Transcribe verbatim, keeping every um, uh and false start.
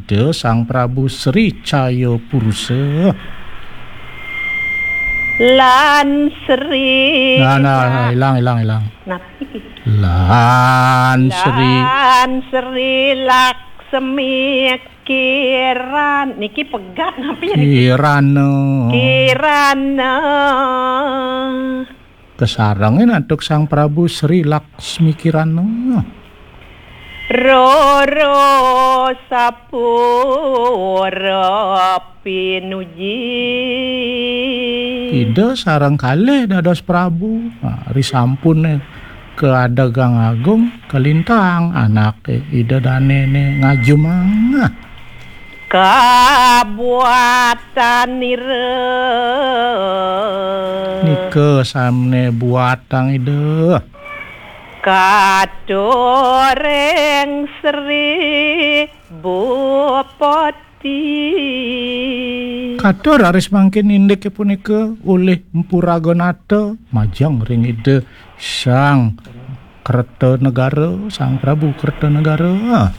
Ida Sang Prabu Sri Caya Purusa. Lan Sri. Nah, nah, ilang, ilang, ilang. Napa iki? Lan Sri. Lan Sri Laksmi Kiran. Niki pegat napa ya niki? Kirana. Kirana. Kasarengin antuk Sang Prabu Sri Laksmi Kirana. Roro sapura pinuji. Ida sareng kalih dados prabu. Nah, risampune kaadegang agung, kalintang anake Ida danene ngajumang. Kabuatanira. Nika samne buatang Ida. Katureng Sri Bupati. Katur raris mangkin indike punika ulih Mpu Raganata majeng ring Ida Sang Kertanegara, Sang Prabu Kertanegara.